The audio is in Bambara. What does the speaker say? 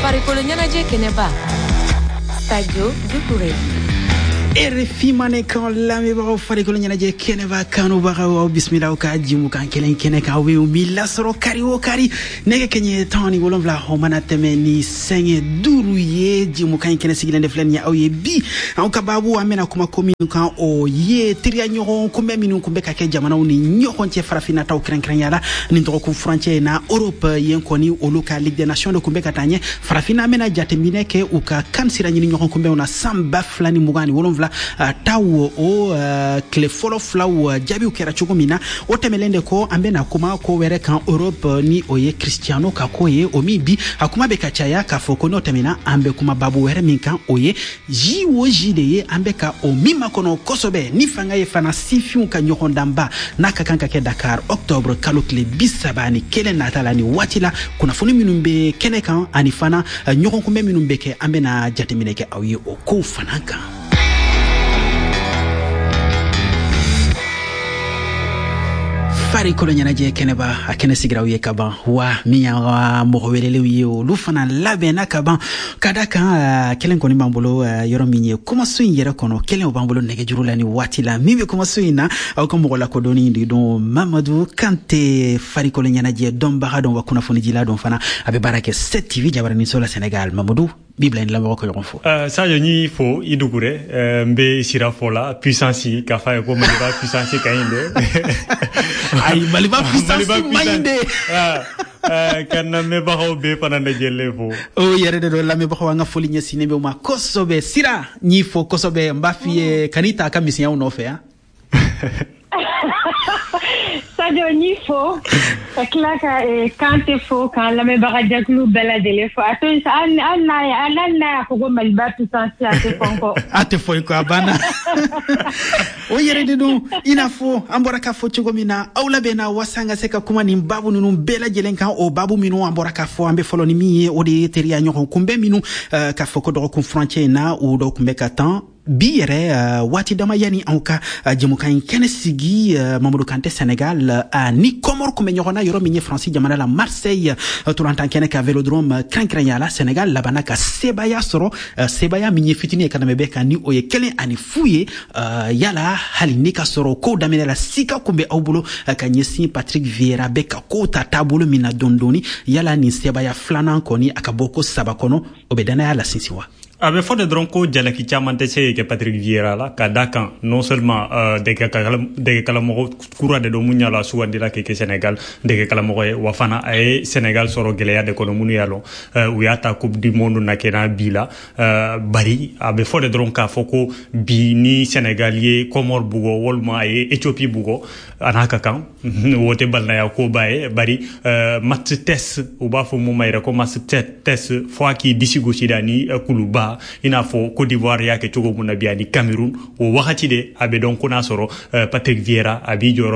Farikolo ɲɛnajɛ kɛnɛba, Sadio Dukure. RFI Mandenkan lamɛnbagaw, farikolo ɲɛnajɛ kɛnɛba kanubagaw, aw bisimila aw ka jimukan kelen kɛnɛ kan, aw bɛ min lasɔrɔ kari o kari nɛgɛ kɛɲɛ 17, o mana tɛmɛ ni sanga 5 ye. Jimukan in kɛnɛ sigilen de filɛ nin ye aw ye bi. Anw ka baabu, an bɛna kuma ko minnu kan, o ye teriya ɲɔgɔn kunbɛn minnu kun bɛ ka kɛ jamanaw ni ɲɔgɔn cɛ, farafinna taw kɛrɛnkɛrɛnya la nin dɔgɔkun furancɛ in na. Europe yen kɔni, olu ka Ligue des Nations de kun bɛ ka taa ɲɛ. Farafinna, an bɛna jateminɛ kɛ u ka kan sira ɲini ɲɔgɔn kunbɛnw na san 2027 taw, o tile fɔlɔ filaw jaabiw kɛra cogo min na. O tɛmɛlen de kɔ, an bɛna kuma ko wɛrɛ kan Europe, ni o ye Cristiano ka ko ye, o min bi a kuma bɛ ka caya k'a fɔ ko n'o tɛmɛna, an bɛ kuma babu wɛrɛ min kan, o ye JOJ de ye, an bɛ ka o min makɔnɔ kosɛbɛ ni fanga ye fana sifinw ka ɲɔgɔndanba n'a ka kan ka kɛ Dakar octobre kalo tile 31 nata la. Ni waati la, kunnafoni minnu bɛ kɛnɛ kan ani fana ɲɔgɔnkunbɛn minnu bɛ kɛ, an bɛna jateminɛ kɛ aw ye o kow fana kan. Farikolo ɲɛnajɛ kɛnɛba, a kɛnɛ sigira aw ye ka ban wa min y'an ka mɔgɔ welelenw ye, olu fana labɛnna ka ban. Ka da kan, kelen kɔni b'an bolo yɔrɔ min ye kumaso in yɛrɛ kɔnɔ, kelen o b'an bolo nɛgɛjuru la ni waati la. Min bɛ kumaso in na, aw ka mɔgɔ lakodɔnni de don, Mamadu Kante, farikolo ɲɛnajɛ dɔnbaga dɔn wa kunnafonidila dɔn fana, a bɛ baara kɛ 7 TV jabaraninso la Sénégal. Mamadu, b'i bila i lamɛnbagaw ka ɲɔgɔn fo. Sadio, n y'i fo i Dukure, n bɛ sira fɔ la puissance k'a f'a ye ko Maliba puissance ka ɲi dɛ. Ayi, Maliba puissance man ɲi dɛ. Ka lamɛnbagaw bɛɛ fana lajɛlen fo. O yɛrɛ de don, lamɛnbagaw, an ka foli ɲɛsinnen bɛ u ma kosɛbɛ. Sira, n y'i fo kosɛbɛ, n b'a f'i ye kan'i ta a ka misɛnyaw nɔfɛ yan. Sadio, n y'i fo ka tila ka Kante fo, k'an lamɛnbaga jɛkulu bɛɛ lajɛlen fo. A to yen sa, hali n'a y'a fɔ ko Maliba puissance, a tɛ fɔ n kɔ. A tɛ fɔ i kɔ, a banna. O yɛrɛ de don, i n'a fɔ an bɔra k'a fɔ cogo min na, aw labɛnna waasa an ka se ka kuma nin baabu ninnu bɛɛ lajɛlen kan. O baabu minnu an bɔra k'a fɔ, an bɛ fɔlɔ ni min ye, o de ye teriya ɲɔgɔn kunbɛn minnu k'a fɔ ko dɔgɔkun furancɛ in na, o dɔw kun bɛ ka tan bi yɛrɛ waati dama yanni anw ka jɛmukan in kɛnɛ sigi. Mamadu Kante, Sénégal ni Comore kun bɛ ɲɔgɔn na yɔrɔ min ye Faransi jamana la, Marseille tolantan kɛnɛ ka Vélodrome kɛrɛnkɛrɛnya la, Sénégal labanna ka sebaya sɔrɔ, sebaya min ye fitinin ye ka tɛmɛ bɛɛ kan, ni o ye 1-0 ye. Yala hali ni ka sɔrɔ kow daminɛ la, sika kun bɛ aw bolo ka ɲɛsin Patrick Vieira bɛ ka kow ta taabolo min na dɔɔni dɔɔni, yala nin sebaya filanan kɔni, a ka bɔ ko saba kɔnɔ, o bɛ danaya la sinsin wa? A bɛ fɔ de dɔrɔn ko jalaki caman tɛ se kɛ Patrick Vieira la, ka da kan non seulement dɛgɛkalamɔgɔ kura de don mun y'a la sugandila kɛ kɛ Sénégal dɛgɛkalamɔgɔ ye, wa fana a ye Sénégal sɔrɔ gɛlɛya de kɔnɔ minnu y'a lɔn u y'a ta Coupe du monde na kɛ bi la. Bari a bɛ fɔ de dɔrɔn k'a fɔ ko bi ni Sénégal ye Comore bugɔ walima a ye Éthiopie bugɔ, a n'a ka kan o tɛ balimaya koba ye. Bari match test, u b'a fɔ mun ma yɛrɛ ko match test, fo a k'i disi gosi da ni kuluba, i n'a fɔ Côte d'Ivoire y'a kɛ cogo mun na bi ani Cameroun, o wagati de a bɛ dɔn ko n'a sɔrɔ Patrick Vieira a b'i jɔyɔrɔ.